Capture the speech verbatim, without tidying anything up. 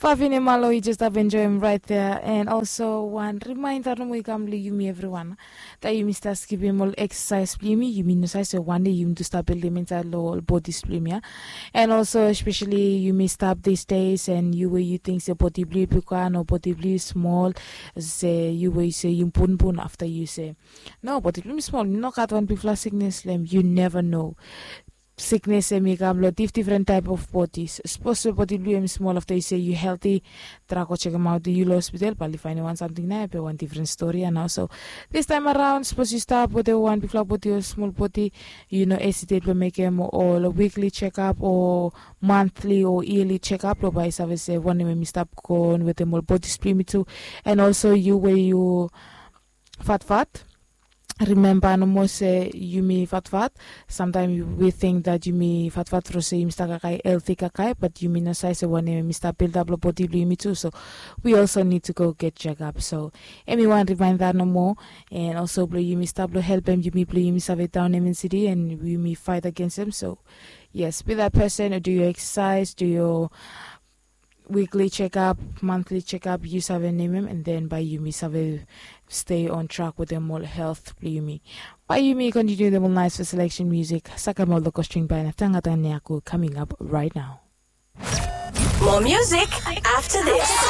Fafine Malo, you just have enjoy him right there. And also wan reminder nomo i kam long yumi evriwan. Taem yumi stap skipim ol exercise blong yumi, yumi no save se wan dei yumi tu stap bildim insaed long ol bodis blong yumi ya. And also especially yumi stap these days and yu we yu ting se bodi blong yu bigwan o bodi blong yu smol, se yu we yu se yu punpun afta yu se, no, bodi blong mi smol, mi no gat wan bigfala siknes long em. Yu neva no. Siknes em i kam long dif difren taep of bodis. Sapos we bodi blong yu em i smol afta yu se yu helti, trai go jekemaot yu long hospital bae yu faenem wan samting nao be wan difren stori ya nao. So distaem araon sapos yu stap wetem wan bigfala bodi o smol bodi, yu no esitet blong mekem ol wikli jekap o mantli o yali jekap blong bae yu save se wanem em i stap goon wetem ol bodis blong yumi tu. And also yu we yu fatfat, rimemba nomo se yumi fatfat. Samtaem wi ting dat yumi fatfat tru se yumi stap kakae helti kakae, bat yumi no save se wanem em i stap bildap long bodi blong yumi tu. So wi also nid tu go get jekap. So em i wan rimaenda nomo. And also blong yumi stap long helpem yumi blong yumi save daonem ensidi and yumi faet agensem. So yes, be dat pesen o du yo eksasaes, du yo wikli jekap, mantli jekap, yu save nemem, and then bae yumi save stay on track wetem ol helt blong yumi. Bae yumi kontiniu wetem ol naes fes seleksen musik. Sakem ol dokostring bae na tangatanganeaku coming up right now. More music after this.